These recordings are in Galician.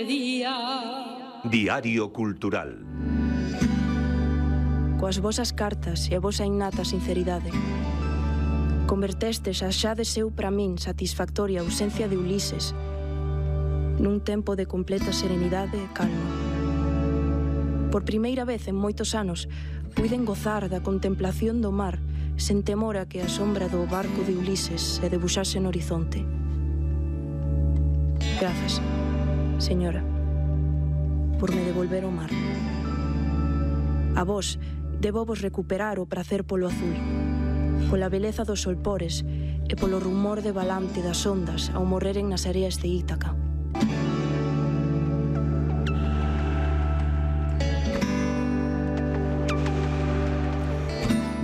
Diario Cultural. Coas vosas cartas e a vosa innata sinceridade, convertestes a xa de seu para min satisfactoria ausencia de Ulises nun tempo de completa serenidade e calma. Por primeira vez en moitos anos puiden gozar da contemplación do mar sen temor a que a sombra do barco de Ulises se debuxase no horizonte. Grazas, señora, por me devolver o mar. A vos, debo vos recuperar o prazer polo azul, pola beleza dos solpores e polo rumor de balante das ondas ao morreren nas areas de Ítaca.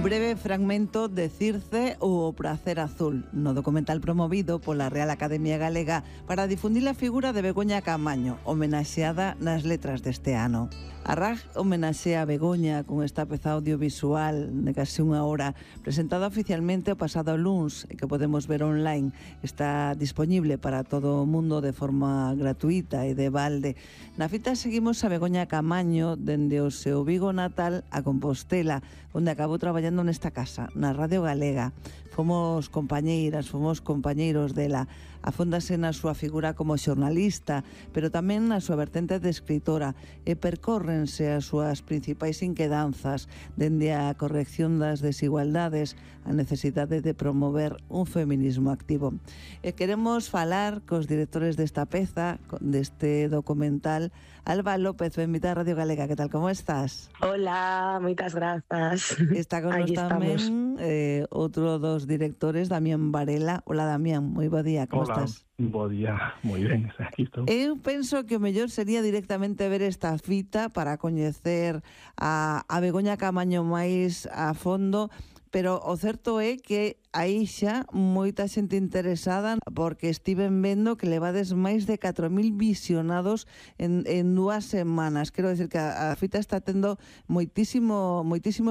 Breve fragmento de Circe ou o prazer azul, no documental promovido pola Real Academia Galega para difundir a figura de Begoña Caamaño, homenaxeada nas letras deste ano. A RAG homenaxea a Begoña con esta peza audiovisual de casi unha hora, presentada oficialmente o pasado luns e que podemos ver online. Está disponible para todo o mundo de forma gratuita e de balde. Na fita seguimos a Begoña Caamaño dende o seu Vigo natal a Compostela, onde acabou traballando nesta casa, na Radio Galega. Fomos compañeiras, fomos compañeiros dela. Afóndase na súa figura como xornalista, pero tamén na súa vertente de escritora, e percórrense as súas principais inquedanzas dende a corrección das desigualdades, a necesidade de promover un feminismo activo. E queremos falar cos directores desta peza, deste documental. Alba López, benvida a Radio Galega, que tal, como estás? Hola, moitas grazas. Está con nos tamén outro dos directores, Damián Varela. Hola, Damián, moi bo día, como estás? Bo día, moi ben, aquí estou. Eu penso que o mellor sería directamente ver esta fita para coñecer a Begoña Caamaño máis a fondo, pero o certo é que aí xa moita xente interesada, porque estiven vendo que levades máis de 4.000 visionados en 2 semanas. Quero decir que a fita está tendo moitísimo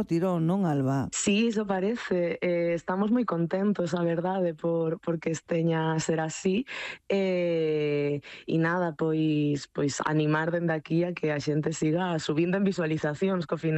tirón, non, Alba? Sí, iso parece. Estamos moi contentos, a verdade, porque esteña a ser así. E nada, pois animar dende aquí a que a xente siga subindo en visualizacións, que ao final